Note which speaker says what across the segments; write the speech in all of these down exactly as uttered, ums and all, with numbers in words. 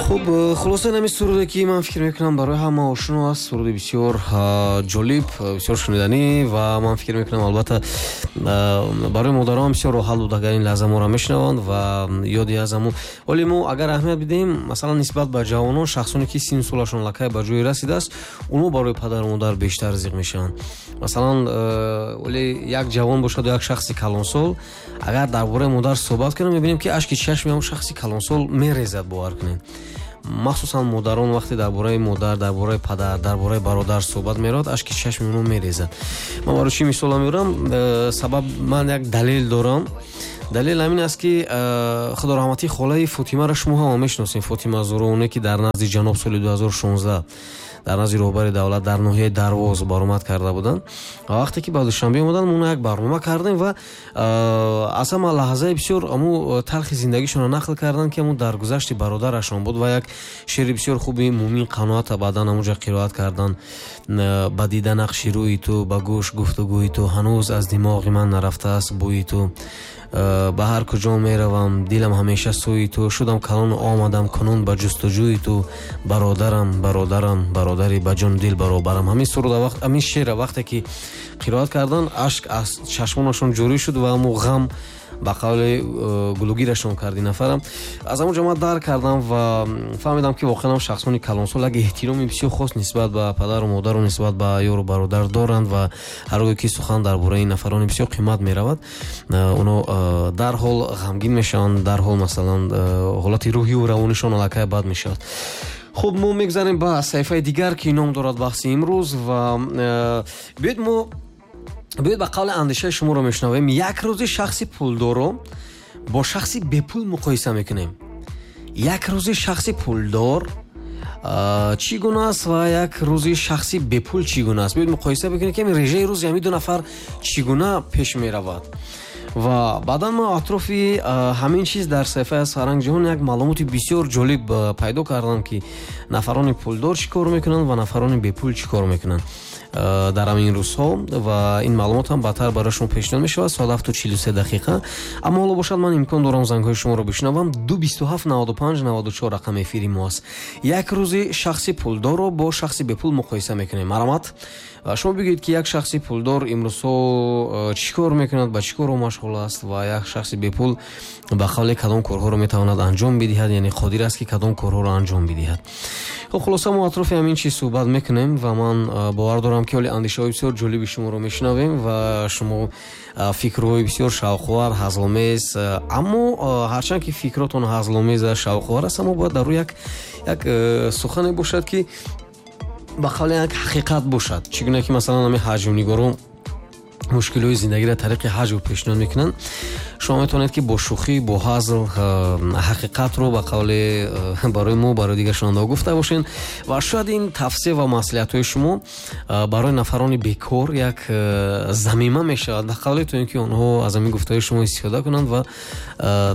Speaker 1: Хуб, хулоса, ин ҳамин суруде, ки ман фикр мекунам, барои ҳама ошно аст. Суруди бисёр ҷолиб, бисёр шуниданӣ ва ман фикр мекунам, албатта, барои модарон бисёр роҳат буд, агар ин лаҳза моро мешунаванд ва ёди аз ҳамун. Вале мо агар аҳамият бидиҳем, масалан, нисбат ба ҷавонон, шахсоне ки синну солашон аллакай ба ҷое расидааст, онҳо барои падару модар бештар зиқ мешаванд. Масалан, вале як ҷавон бошаду як шахси калонсол агар дар бораи модар суҳбат кунем, мебинем, ки ашки чашми ҳамон шахси калонсол мерезад. Бовар кунед, махсусан модарон вақте дар бораи модар, дар бораи падар, дар бораи бародар суҳбат меравад, ашки чашми онҳо мерезад. Ман барои чӣ мисола меорам? э, сабаб ман як далел дорам. Далел ҳамин аст, ки э, худораҳматӣ холаи Фотимаро шумо ҳама мешиносем, Фотима Зуро, ки дар назди ҷаноб соли ду ҳазору шонздаҳ дар назди роҳбари давлат дар ноҳияи Дарвоз баромад карда буданд. Ва вақте ки ба Душанбе омаданд, мо як барнома кардем ва аз ҳама лаҳзаи бисёр аму талхи зиндагишонро нақл карданд, ки аму даргузашти бародарашон буд ва як шеъри бисёр хуби Мумин Қаноата баъдан амуҷа қироат карданд: «Ба дида нақши рӯи ту, ба гӯш гуфтугӯи ту, ҳанӯз аз димоғи ман нарафтааст бӯи ту. Ба ҳар куҷо меравам, дилам ҳамеша сӯи ту. Шудам калону омадам кунун ба ҷустуҷӯи ту. Бародарам, бародарам, бародари ба ҷону дил баробарам». Ҳамин суруда, ҳамин шеъра вақте ки қироат кардан, ашк аз чашмонашон ҷорӣ шуд ва ҳамун ғам, ба қавли э, гулугирашон кард ин нафарам. Аз ҳамон ҷо ман дарк кардам ва фаҳмидам, ки воқеан шахсони калонсол як эҳтироми бисёр хос нисбат ба падару модару нисбат ба ёру бародар доранд ва ҳар гоҳе ки сухан дар бораи ин нафарони бисёр қимат меравад, э, оно э, дарҳол ғамгин мешаванд, дарҳол, масалан, ҳолати рӯҳию равонишон аллакай бад мешавад. Хуб, мо мегузарем ба саҳифаи дигар, ки ном дорад «Баҳси имрӯз». Ва биёед, мо биёед, ба қавли андешаи шуморо мешунавем. Як рӯзи шахси пулдорро бо шахси бепул муқоиса мекунем. Як рӯзи шахси пулдор чӣ гуна аст ва як рӯзи шахси бепул чӣ гуна аст? Биёед, муқоиса бикунем, ки режаи рӯзи ҳамин ду нафар чӣ гуна пеш меравад. Ва баъдан ман атрофи ҳамин чиз дар саҳифаи аз Фарҳанг Ҷаҳон як маълумоти бисёр ҷолиб пайдо кардам, ки нафарони пулдор чӣ кор мекунанд ва нафарони бепул чӣ кор мекунанд дар ҳамин рӯзҳо. Ва ин маълумот ҳам баъдтар барои шумо пешниҳод мешавад, соат ҳафту чилу се дақиқа. Аммо ҳоло бошад, ман имкон дорам зангҳои шуморо бишнавам. Ду бисту ҳафт наваду панҷ наваду чор рақами эфири мо аст. Як рӯзи шахси пулдорро бо шахси бепул муқоиса мекунем. Марҳамат, шумо бигӯед, ки як шахси пулдор имрӯзҳо э, чӣ кор мекунад, ба чӣ корро машғул аст ва як шахси бепул, ба қавле, кадом корҳоро метавонад анҷом бидиҳад, яъне қодир аст, ки кадом корҳоро анҷом бидиҳад. Хуб, хулоса, мо атрофи ҳамин чиз суҳбат мекунем ва ман э, бовар дорам, ки ҳоли андешаҳои бисёр ҷолиби шуморо мешунавем ва шумо э, фикрҳои бисёр шавқовар, ҳазломез. Аммо ҳарчанд ки фикротон ҳазломез, шавқовар аст, аммо бояд дар рӯ як як сухане бошад, ки ба қавле як ҳақиқат бошад. Чӣ гуна ки, масалан, ҳамин ҳаҷвнигорон мушкилҳои зиндагиро тариқи ҳаҷв пешниҳод мекунанд, шумо метавонед, ки бо шӯхӣ, бо ҳазл ҳақиқатро, ба қавле, барои мо, барои дигар шунавандаҳо гуфта бошед. Ва шояд ин тавсия ва маслиҳатҳои шумо барои нафарони бекор як замима мешавад, ба қавле, то ин ки онҳо аз ҳамин гуфтаҳои шумо истифода кунанд ва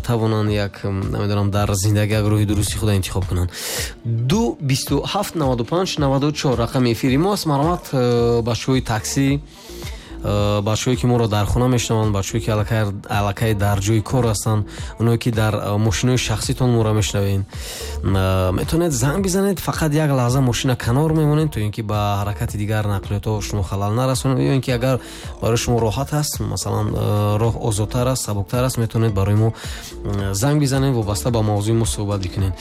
Speaker 1: тавонанд як, намедонам, дар зиндагӣ як роҳи дурусти худа интихоб кунанд. Ду бисту ҳафт наваду панҷ наваду чор рақами эфири мо аст. Марҳамат, бачаҳои таксӣ, Э, бачаҳое ки моро дар хона мешунаванд, бачаҳое ки аллакай дар ҷои кор ҳастанд, оное ки дар э, мошинои шахситон моро мешунавед, э, метавонед занг бизанед. Фақат як лаҳза мошина канор мемонед, то ин ки ба ҳаракати дигар нақлиётҳо шумо халал нарасонед, ё ин ки агар барои шумо роҳат аст, масалан, роҳ озодтар аст, сабуктар аст, метавонед барои мо занг бизанед, вобаста ба мавзӯи мо суҳбат бикунед.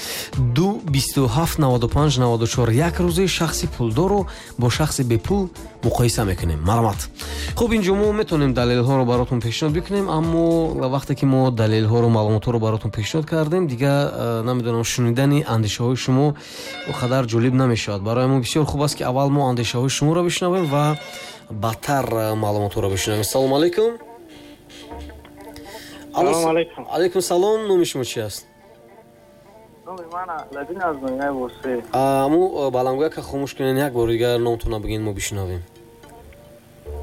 Speaker 1: Ду бисту ҳафт наваду панҷ наваду чор. Як рӯзи шахси пулдорро бо шахси бепул муқоиса мекунем. Марҳамат. Хуб, инҷо мо метавонем далелҳоро баротон пешниҳод бикунем, аммо вақте ки мо далелҳоро, маълумотҳоро баротон пешниҳод кардем, дигар, э, намедонам, шунидани андешаҳои шумо он қадар ҷолиб намешавад. Барои мо бисёр хуб аст, ки аввал мо андешаҳои шуморо бишнавем ва баъдтар э, маълумотҳоро бишнавем. Салому алайкум. Алайкум салом. Номи шумо чи аст? Аму э, баландгӯяка хомӯш кунед. Як бори дигар номтонро бигӯед, мо бишнавем.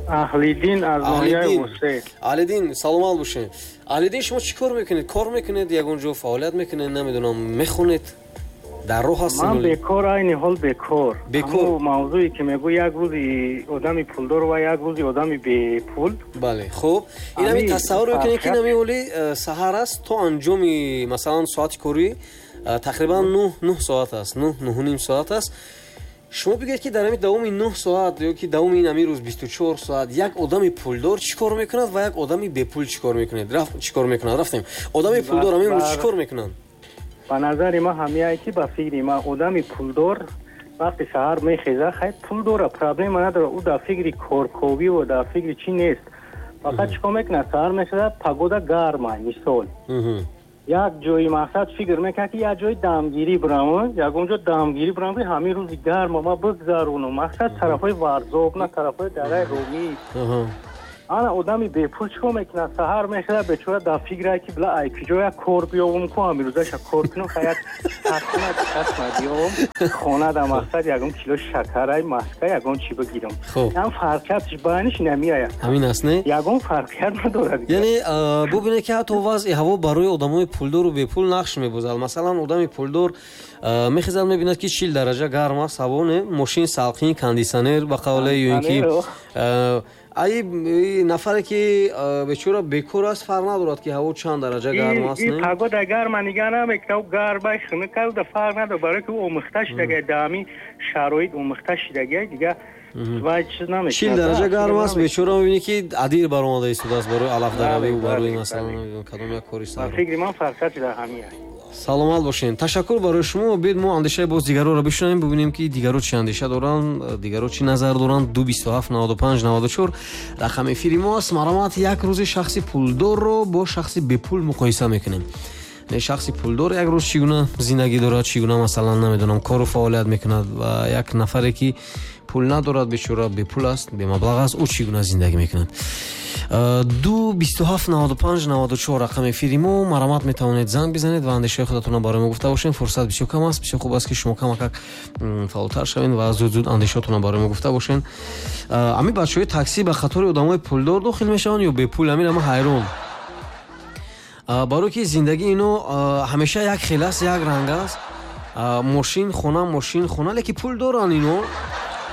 Speaker 2: Аҳлиддин аз ноҳияи Восе.
Speaker 1: Аҳлиддин, саломат бошед. Аҳлиддин, шумо чӣ кор мекунед? Кор мекунед, ягон ҷо фаъолият мекунед, намедонам, мехонед, дар роҳ ҳастед?
Speaker 2: Ман бекор, айни ҳол бекор.
Speaker 1: Бекор.
Speaker 2: Мавзӯе ки мегӯ, як рӯзи одами пулдор ва як рӯзи одами бепул.
Speaker 1: Бале, хуб, инами тасаввур мекунед, ки инами ҳоли э, саҳар аст, то анҷоми, масалан, соати корӣ Тақрибан нӯҳ нӯҳ соат аст, нӯҳ нӯҳу ним соат аст. Шумо бигӯед, ки дар ҳамин давоми нӯҳ соат ё ки давоми ин ҳамин рӯз бисту чор соат як одами пулдор чӣ кор мекунад ва як одами бепул чӣ кор мекунад? Чӣ кор мекунад? Рафтем. Одами пулдор ҳамин рӯз чӣ кор мекунанд?
Speaker 2: Ба назари ман ҳамияе ки ба фикри ман одами пулдор вақти саҳар мехезад, хай пул дора, проблема надорад, ӯ дар фикри корковӣ ва дар фикри чӣ нест. Фақат чӣ кор мекунад? Саҳар мехезад, погода гарма, мисол. Як ҷои мақсад фикр мекунад, ки як ҷои дамгирӣ бирам, ягон ҷо дамгирӣ бирам, ки ҳамин рӯзи гарма ма бигзаронам. Мақсад тарафҳои Варзоб, на тарафҳои дараи Румӣ. Ана одами бепул чӣ кор мекунад? Саҳар мехезад, бечора дар фикре ки била ай куҷо як кор биёвам, ку ҳамин рӯзаша кор кунам, хай як тақна тақна биёвам, хона дар мақсад ягон кило шакарай, маска, ягон чӣ бигирам. Ям фарқиятш байниш намеояд.
Speaker 1: Ҳамин аст, не?
Speaker 2: Ягон фарқият надорад.
Speaker 1: Яъне бубинед, ки ҳатто вазъи ҳаво барои одамои пулдору бепул нақш мебозад. Масалан, одами пулдор мехезад, мебинад, ки чил дараҷа гарм аст ҳаво, не? Мошин салқин, кондитсионер ба қавле, ё ин ки ай нафаре ки бечора бекор аст, фарқ надорад, ки ҳаво чанд дараҷа гарм аст, не?
Speaker 2: Погода гарма нигаҳ намекунад, гармай хунук аст, фарқ надорад, барои ки ӯ омӯхта шудагай, дар ҳамин шароит омӯхта шудагай, дигар вай чиз намекунад.
Speaker 1: Чил дараҷа гарм аст, бечора мебинӣ, ки адир баромада истодааст барои алафдаравӣ, барои масалан кадом як кори сар.
Speaker 2: Фикри ман фарқияти дар ҳамин аст.
Speaker 1: Саломат бошед. Ташаккур барои шумо. Биёед мо андешаи боз дигарро бишунавем, бубинем, ки дигарро чӣ андеша доранд, дигарро чӣ назар доранд. Ду бисту ҳафт наваду панҷ наваду чор рақами эфири мо аст. Марҳамат, як рӯзи шахси пулдорро бо шахси бепул муқоиса мекунем. Не, шахси пулдор як рӯз чӣ гуна зиндагӣ дорад, чӣ гуна масалан намедонам кору фаъолият мекунад, ва як нафаре ки пул надорад, бечора бепул аст, бемаблағ аст, ӯ чӣ гуна зиндагӣ мекунад. Ду бисту ҳафт наваду панҷ наваду чор рақами эфири мо. Марҳамат, метавонед занг бизанед ва андешаи худатонро барои мо гуфта бошед. Фурсат бисёр кам аст. Бисёр хуб аст, ки шумо камакак фаъолтар шавед ва зуд зуд андешаотонро барои мо гуфта бошед. Ҳамин бачаҳои таксӣ ба қатори одамои пулдор дохил мешаванд ё бепул? Ҳамин ама ҳайрон, барои ки зиндагии ино ҳамеша як хел аст, як ранг аст. Мошин, хона, мошин, хона, лекин пул доранд, ино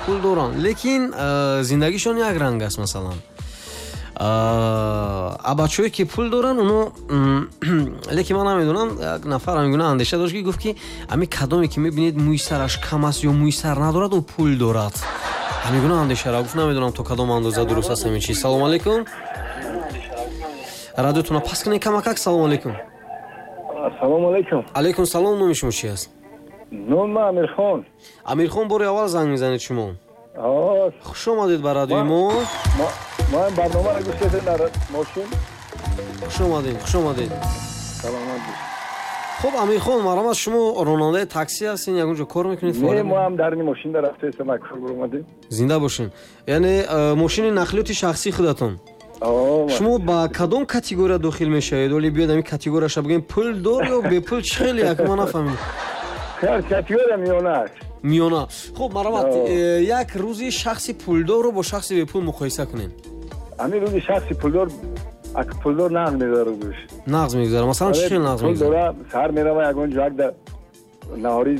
Speaker 1: пул доранд, лекин зиндагишон як ранг аст. Масалан, а бачаҳое ки пул доранд, оно лекин ман намедонам, як нафар ҳамин гуна андеша дошт, ки гуфт, ки ҳамин кадоме ки мебинед мӯи сараш кам аст ё мӯи сар надорад, ӯ пул дорад. Ҳамин гуна андешаро гуфт. Намедонам, то кадом андоза дуруст аст ҳамин чиз. Салому алайкум. Радиотонро паст кунед камакак. Салому алайкум.
Speaker 3: Салому алайкум.
Speaker 1: Алайкум салом. Номи шумо чи аст?
Speaker 3: Номи ман Амирхон.
Speaker 1: Амирхон, бори аввал занг мезанед шумо? Хуш омадед ба радиои мо.
Speaker 3: Ман барномаро гӯш кардам дар мошин.
Speaker 1: Хуш омадед, хуш омадед.
Speaker 3: Саломат бошед.
Speaker 1: Хуб, Амирхон, марҳамат, шумо ронандаи таксӣ ҳастед, ягон ҷо кор мекунед?
Speaker 3: Не, мо ҳам дар ин мошин рафтаистем, як кор омадем.
Speaker 1: Зинда бошед. Яъне мошини нақлиёти шахсии худатон? Шумо ба кадом категория дохил мешавед? Оли биёед ҳамин категорияша бигӯем, пулдор ё бепул, чӣ хеле як ман нафаҳмидам.
Speaker 3: Категория миёна аст.
Speaker 1: Миёна. Хуб, марҳамат, як рӯзи шахси пулдорро бо шахси бепул муқоиса кунед.
Speaker 3: Ҳамин рӯзи шахси пулдор, ак пулдор нағз мегузарад рӯзаш.
Speaker 1: Нағз мегузарад. Масалан, чӣ хел нағз мегузарад?
Speaker 3: Саҳар мерава ягон ҷо, як наҳорӣ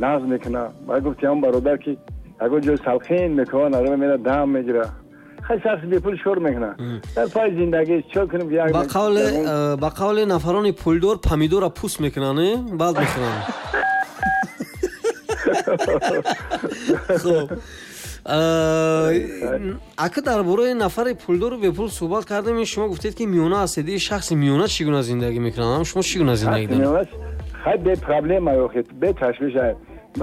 Speaker 3: нағз мекунад. Баъд гуфти ҳамон бародар, ки ягон ҷои салқин мекунад, нарава мерава дам мегирад. Хай шахси бепул чӣ кор мекунад? Дар пай зиндагӣ чӣ кунем?
Speaker 1: Ба қавле ба қавле нафарони пулдор помидора пӯст мекунанд, не? Баъд мехӯранд. Хуб, ака дар бораи нафари пулдору бепул суҳбат кардем, шумо гуфтед, ки миёна ҳастед. Ин шахси миёна чӣ гуна зиндагӣ мекунад? Шумо чӣ гуна зиндагӣ доред?
Speaker 3: Хай бе проблема, охи бе ташвиш.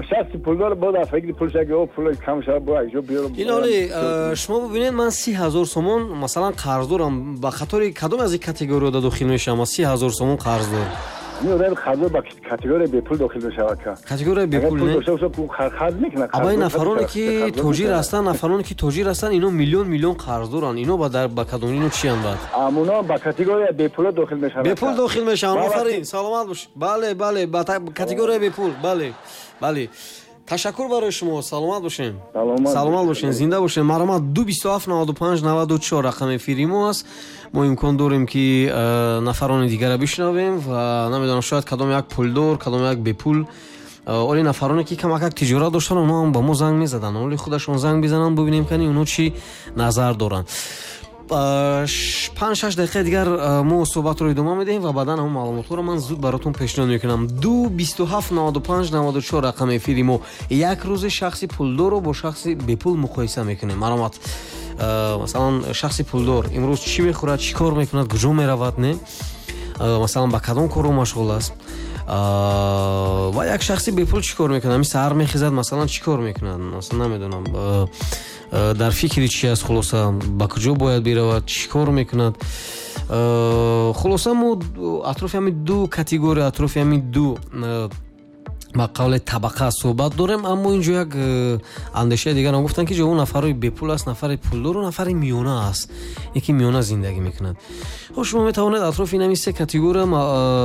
Speaker 3: Шахси пулдор бо дар фикри пул шаги, о пул кам шава, бо як ҷо биёрам.
Speaker 1: Ин оли шумо бубинед, ман си ҳазор сомон масалан қарз дорам, ба қатори кадом аз ин категорияда дохил мешавам? Си ҳазор сомон қарз дорам.
Speaker 3: Ин одами қарздор ба категорияи бепул дохил мешавад.
Speaker 1: Категорияи бепул, не?
Speaker 3: Қарз мекунад.
Speaker 1: Абай нафароне ки тоҷир ҳастанд, нафароне ки тоҷир ҳастанд, ино миллион миллион қарз доранд. Ино ба дар ба кадом ино чиянд баъд?
Speaker 3: Амуно ба категорияи бепула дохил мешаванд.
Speaker 1: Бепул дохил мешаванд. Офарин, саломат бош. Бале, бале, ба категорияи бепул. Бале. Бале. Ташаккур барои шумо, саломат бошем. Саломат бошем, зинда бошем. Марҳамат, ду бисту ҳафт наваду панҷ наваду чор рақами эфири мо аст. Мо имкон дорем, ки нафарони дигарро бишнавем ва намедонам, шояд кадом як пулдор, кадом як бепул. Оли нафароне ки камакак тиҷорат доштанд, онҳо ҳам ба мо занг мезаданд. Оли худашон занг бизананд, бубинем, кани онҳо чӣ назар доранд. Панҷ-шаш дақиқаи дигар мо суҳбатро идома медиҳем ва баъдан ҳамон маълумотҳоро ман зуд баротон пешниҳод мекунам. Ду бисту ҳафт наваду панҷ наваду чор рақами эфири мо. Як рӯзе шахси пулдорро бо шахси бепул муқоиса мекунем. Маромат, масалан, шахси пулдор имрӯз чӣ мехӯрад, чӣ кор мекунад, куҷо меравад, не? Масалан, ба кадом корро машғул аст? Ва як шахси бепул чӣ кор мекунад? Ҳамин саҳар мехезад, масалан, чӣ кор мекунад? Масалан, намедонам, дар фикри чӣ аст, хулоса, ба куҷо бояд биравад, чӣ кор мекунад? Хулоса, мо атрофи ҳамин ду категория, атрофи ҳамин ду ба қавле табақа суҳбат дорем. Аммо инҷо як андешаи дигарам гуфтанд, ки ҷо нафарои бепул аст, нафари пулдору нафари миёна аст, яке миёна зиндагӣ мекунад. Хуб, шумо метавонед атрофи ин ҳамин се категория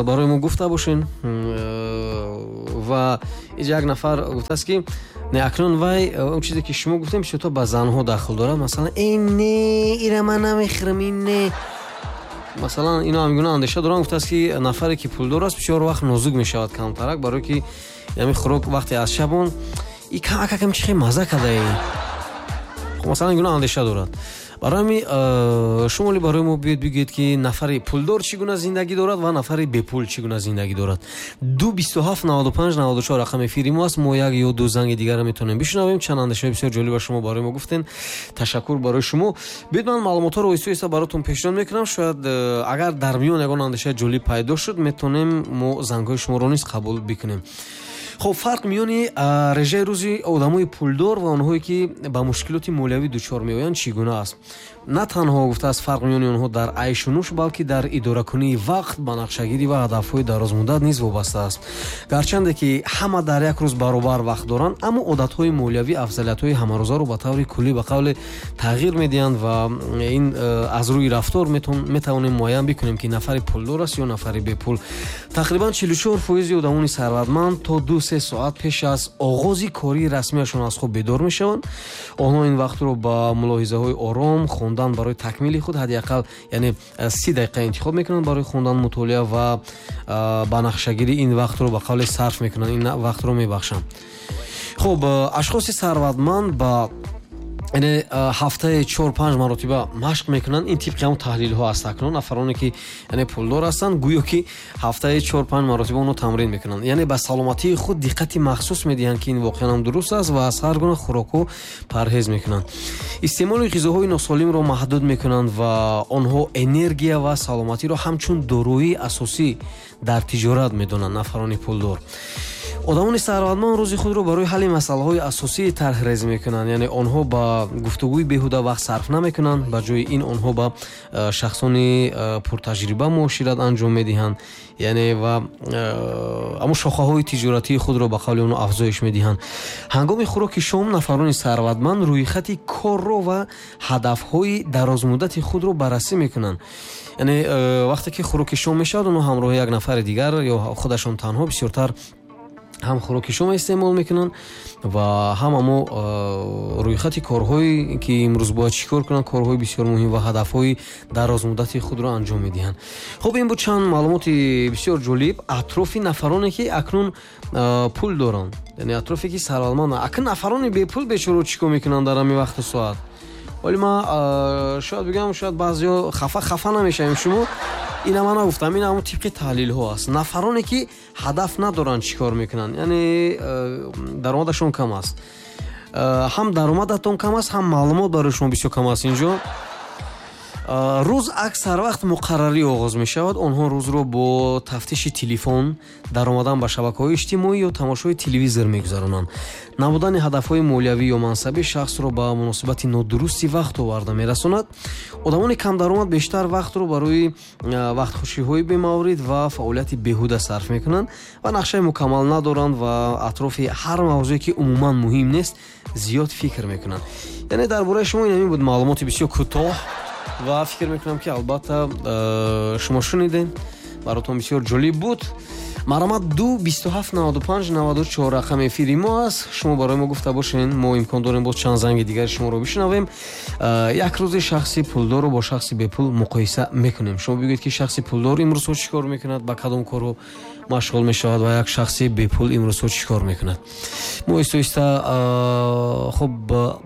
Speaker 1: барои мо гуфта бошед. Ва инҷо як нафар гуфтааст, ки не, акнун вай он чизе ки шумо гуфтем бисёртар ба занҳо дахл дорад. Масалан, э не, ира ман намехӯрам, ин не. Масалан, ино ҳамгуна андеша доранд. Гуфтааст, ки нафаре ки пулдор аст бисёр вақт нозук мешавад камтарак, барое ки ҳамин хӯрок вақте аз шабон и камакакам чи хеле мазза кардае. Хуб, масалан, ин гуна андеша дорад. Барои ҳамин шумо ли барои мо биёед бигӯед, ки нафари пулдор чӣ гуна зиндагӣ дорад ва нафари бепул чӣ гуна зиндагӣ дорад. Ду бисту ҳафт наваду панҷ наваду чор рақами эфири мо аст. Мо як ё ду занги дигарро метавонем бишунавем. Чанд андешаҳои бисёр ҷолиба шумо барои мо гуфтен. Ташаккур барои шумо. Биёед ман маълумотҳоро оҳиста оҳиста баротон пешниҳод мекунам. Шояд агар дар миён ягон андешаи ҷолиб пайдо шуд, метавонем мо зангҳои шуморо низ қабул бикунем. Хуб, фарқ миёни режаи рӯзи одамои пулдор ва онҳое ки ба мушкилоти молиявӣ дучор меоянд чӣ гуна аст? На танҳо, гуфтааст, фарқ миёни онҳо дар айшу нӯш, балки дар идоракунии вақт, ба нақшагирӣ ва ҳадафҳои дарозмуддат низ вобаста аст. Гарчанде ки ҳама дар як рӯз баробар вақт доранд, аммо одатҳои молиявӣ афзалиятҳои ҳамарӯзаро ба таври куллӣ ба қавле тағйир медиҳанд ва ин аз рӯи рафтор метавонем муайян бикунем, ки нафари пулдор аст ё нафари бепул. Тақрибан чилу чор фоизи одамони сарватманд то ду се соат пеш аз оғози кории расмияшон аз хоб бедор мешаванд. Онҳо ин вақтро ба мулоҳизаҳои ором, хондан барои такмили худ ҳадди ақал, яъне си дақиқа интихоб мекунанд барои хондан, мутолиа ва ба нақшагирӣ ин вақтро ба қавле сарф мекунанд, ин вақтро мебахшанд. Хуб, ашхоси сарватманд ба яъне ҳафтаи чор-панҷ маротиба машқ мекунанд. Ин тибқи ҳамон таҳлилҳо аст. Акнун нафароне ки яъне пулдор ҳастанд, гӯё ки ҳафтаи чор-панҷ маротиба онҳо тамрин мекунанд. Яъне ба саломатии худ диққати махсус медиҳанд, ки ин воқеан ҳам дуруст аст, ва аз ҳар гуна хӯрокҳо парҳез мекунанд. Истеъмоли ғизоҳои носолимро маҳдуд мекунанд ва онҳо энергия ва саломатиро ҳамчун дороии асосӣ дар тиҷорат медонанд нафарони пулдор. Одамони сарватманд рӯзи худро барои ҳалли масъалаҳои асосии тарҳрезӣ мекунанд. Яъне онҳо ба гуфтугӯи беҳуда вақт сарф намекунанд. Ба ҷои ин онҳо ба шахсони пуртаҷриба муошират анҷом медиҳанд, яъне ва аммо шохаҳои тиҷоратии худро ба қавли онҳо афзоиш медиҳанд. Ҳангоми хӯроки шом нафарони сарватманд рӯйхати корро ва ҳадафҳои дарозмуддати худро баррасӣ мекунанд. Яъне вақте ки хӯроки шом мешавад, онҳо ҳамроҳи як нафари дигар ё худашон танҳо бисёртар ҳам хӯроки шом истеъмол мекунанд ва ҳам амо рӯйхати корҳое ки имрӯз бояд чӣ кор кунанд, корҳои бисёр муҳим ва ҳадафҳои дарозмуддати худро анҷом медиҳанд. Хуб, ин буд чанд маълумоти бисёр ҷолиб атрофи нафароне ки акнун пул доранд, яъне атрофе ки сарватманд. Акнун нафарони бепул бечоро чӣ кор мекунанд дар ҳамин вақту соат? Вале ман шояд бигӯям, шояд баъзеҳо хафа хафа намешавем шумо. Ина ман нагуфтам, ин ҳамон тибқи таҳлилҳо аст. Нафароне ки ҳадаф надоранд чӣ кор мекунанд, яъне даромадашон кам аст. Ҳам даромадатон кам аст, ҳам маълумот барои шумо бисёр кам аст инҷо. Рӯз аксар вақт муқаррарӣ оғоз мешавад. Онҳо рӯзро бо тафтиши телефон, даромадан ба шабакаҳои иҷтимоӣ ё тамошои телевизор мегузаронанд. Набудани ҳадафҳои молиявӣ ё мансабӣ шахсро ба муносибати нодурусти вақт оварда мерасонад. Одамони камдаромад бештар вақтро барои вақтхушиҳои бемаврид ва фаъолияти беҳуда сарф мекунанд ва нақшаи мукаммал надоранд ва атрофи ҳар мавзӯе ки умуман муҳим нест зиёд фикр мекунанд. Яъне дар бораи шумо ин ҳамин буд маълумоти бисёр кӯтоҳ ва фикр мекунам ки албатта шумо шунидед, баротон бисёр ҷолиб буд. Марҳамат, ду бисту ҳафт наваду панҷ наваду чор рақами эфири мо аст. Шумо барои мо гуфта бошед, мо имкон дорем боз чанд занги дигари шуморо бишнавем. Як рӯзе шахси пулдорро бо шахси бепул муқоиса мекунем. Шумо бигӯед, ки шахси пулдор имрӯзҳо чӣ кор мекунад, ба кадом корҳо машғул мешавад ва як шахси бепул имрӯзҳо чӣ кор мекунад. Мо оҳиста оҳиста хуб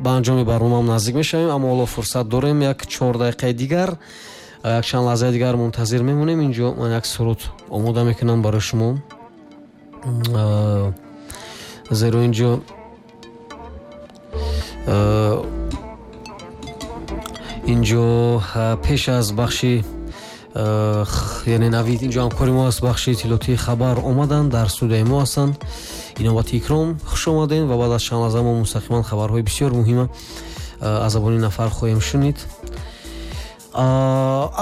Speaker 1: ба анҷоми барномаам наздик мешавем, аммо ҳоло фурсат дорем як чор дақиқаи дигар, як чанд лаҳзаи дигар мунтазир мемонем. Инҷо ман як суруд омода мекунам барои шумо, зеро инҷо инҷо пеш аз бахши, яъне Навид, инҷо ҳамкори мо аст, бахши иттилоотии хабар омаданд, дар студияи мо ҳастанд. Иновати икром, хуш омадем ва баъд аз чанд лаҳза мо мустақиман хабарҳои бисёр муҳима аз забони нафар хоҳем шунид.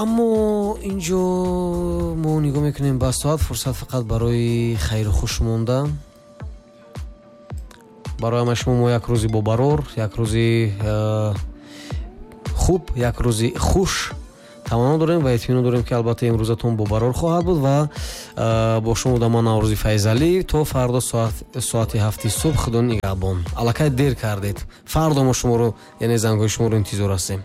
Speaker 1: Аммо инҷо мо нигоҳ мекунем ба соат, фурсат фақат барои хайру хуш монда. Барои ҳамаи шумо мо як рӯзи бобарор, як рӯзи хуб, як рӯзи хуш таманно дорем ва итминон дорем, ки албатта имрӯзатон бобарор хоҳад буд ва бо шумо будам ман Наврӯзи Файзалӣ. То фардо соати ҳафти субҳ, Худо нигаҳбон. Аллакай дер кардед, фардо мо шуморо, яъне зангҳои шуморо интизор ҳастем.